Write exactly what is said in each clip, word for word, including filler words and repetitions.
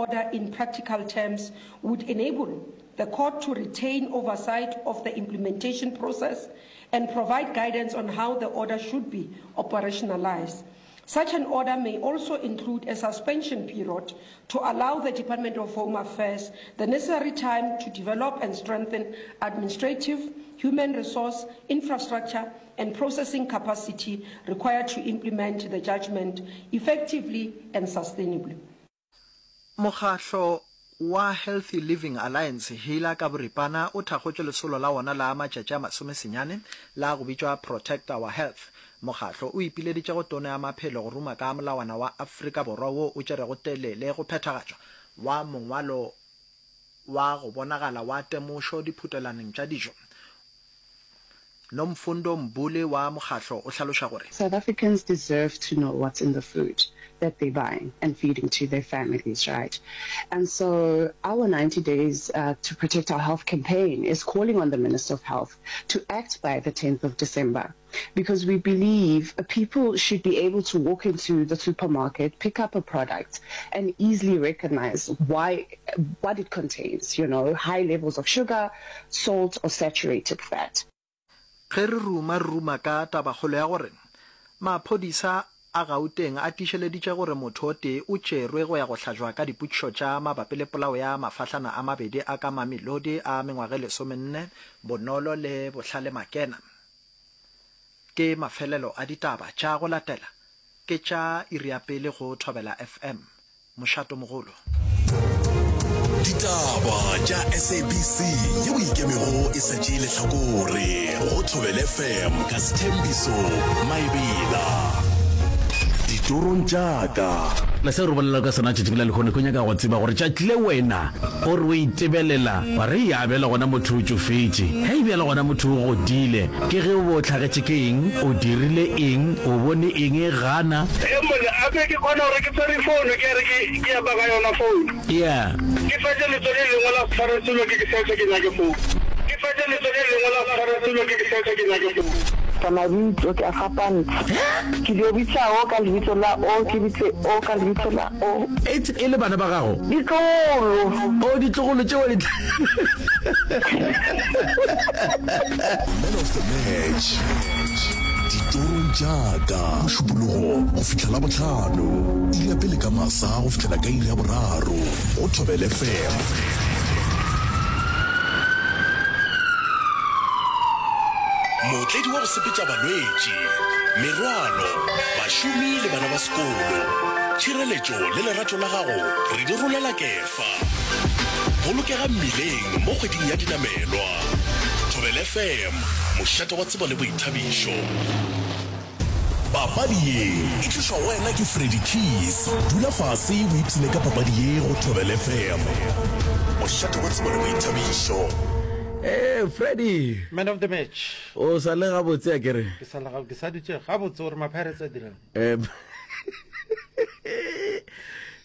order in practical terms would enable the court to retain oversight of the implementation process and provide guidance on how the order should be operationalized. Such an order may also include a suspension period to allow the Department of Home Affairs the necessary time to develop and strengthen administrative, human resource, infrastructure, and processing capacity required to implement the judgment effectively and sustainably. Mokgahlo wa Healthy Living Alliance, HEALA, ka boripana, o thakgotše lesolo la wona la matšatši a masomesenyane la go bitšwa Protect Our Health. Mokgahlo o ipileditše go Tona ya Maphelo go ruma ka molawana wa Afrika Borwa wo o tšerego telele go phethagatšwa wa mongwalo wa go bonagala wa temošo diphutelaneng tša dijo. Nomfundo Mbuli wa mokgahlo o hlaloša gore. South Africans deserve to know what's in the food that they're buying and feeding to their families, right? And so our ninety days uh, to protect our health campaign is calling on the Minister of Health to act by the tenth of December, because we believe people should be able to walk into the supermarket, pick up a product, and easily recognize why, what it contains, you know, high levels of sugar, salt, or saturated fat. Ge re ruma, re ruma ka tabakgolo ya gore maphodisa a Gauteng a tiišeleditše gore motho o tee o tšerwe go ya go hlajwa ka dipotšišo tša mabapi le polao ya mafahlana a mabedi a ka Mamelodi a mengwaga e lesomenne, Bonolo le Bohlale Makena. Ke mafelelo a ditaba tša go latela ke tša iri ya pele go Thobela F M. Mošatomogolo. Ditaba tša S A B C yeo e ikemego e sa tšee lehlakore go Thobela F M ka Sthembiso Maebela. Ditorong tša ka. Le seo re bolela ka sona tšatši la lehono, ke nyaka go tseba gore tšatši le wena o re o itebelela wa re ya bjale gona motho o tšofetše, hei bjale gona motho o godile, ke ge o be o hlagetše ke eng, o dirile eng, o bone eng, gana. Ee monna, a be ke kgona gore ke tshwere founu ke re ke ke ya baka yona founu. Yeah. Ke fetše letso le lengwe la tshwara selo ke ke search ke nyake founu. Ke fetše letso le lengwe la tshwara selo ke ke search ke nyake founu. Ka mabitso ke a fapantšha. Ke dio bitša o ka lebitso la o, ke bitse o ka lebitso la o. Ets e le bana ba gago? Ditlogolo. Oh, ditlogolo tšeo di. Man of the match, ditorong tša ka, Mošupologo go fihla Labohlano, iri ya pele ka masa go fihlela ka iri ya boraro, go Thobela F M. Mootledi wa go sepetša balwetši, merwalo, bašomi le bana ba sekolo. Tšhireletšo le lerato la gago re di rolela kefa. Bolokega mmileng mo kgweding ya dinamelwa. Thobela F M, mošate wa tsebo le boithabišo. Papadi ye e tlišwa go wena ke Freddy Keys. Dula fase o ipshine ka papadi ye go Thobela F M, mošate wa tsebo le boithabišo. Ee, Freddy. Man of the match. O sa le gabotse a kere? Ke sa le gabotse, ke sa dutše gabotse gore ma-Pirates a dirang. Eh,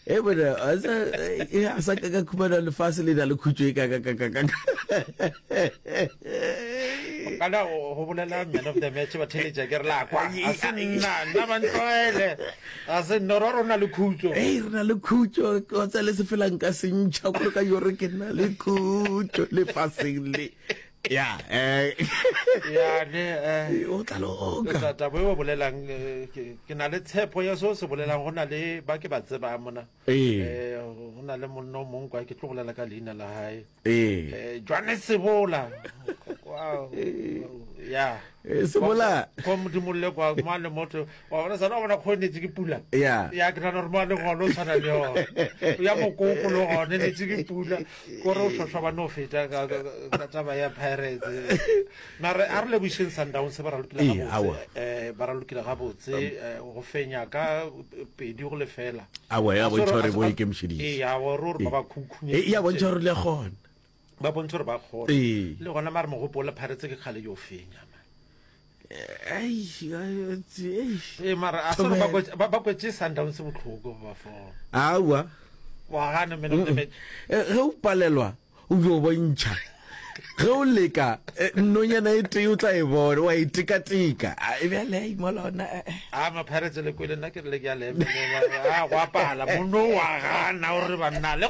e bona a sa e a sa ka ka khumana lefase le na le khutšo e ka ka ka ka ka. Kana go bolela man of the match ba theletša ke re la kwa. A se nna, nna ba ntlwaele. A se nna re rona le khutšo. Ei re na le khutšo, o tsa le se felang ka sentšha gore ka yore ke na le khutšo lefaseng le. Ya, eh. Ya ne eh. O tla loka. Taba e o bolelang ke na le tshepo ya seo se bolelang go na le ba ke ba tsebang mona. Ee. Eh go na le monna o mongwe kwa ke tlo bolela ka leina la hae. Ee. Eh Johannes Sebola. Wow. Ya. Sebola. Kwa modimo le kwa mo le motho wa bona sana bona khonetse ke pula. Ya. Ya ke nana gore mo le gone o tshwana le yone. Ya mokoko le gone netse ke pula. Kore o shosha ba no feta ka ka taba ya Pirates. Mara a re lebošeng Sundowns ba ralokile gabotse. Eh ba ralokile gabotse go fenya ka pedi go lefela. Awa ya bontšha gore bo ikemišeditše. Ee, ya gore ba ba khukhunya. Ee, ya bontšha gore le kgona. Ba bontšha gore ba kgona. Le gona mare mogopolo Pirates ke kgale yo fenya man. Ei, ee mara a se ba ba kwetse Sundowns bohloko ba fo. Awa. Wa gana man of the match. Ge o palelwa o be o bontšha. Ge o leka nonyana e tee o tla e bona wa e tekateka. E bjale mola ona. A ma Pirates le kwele nna ke re le ke a le emelela. A go apala mono wa gana o re banna le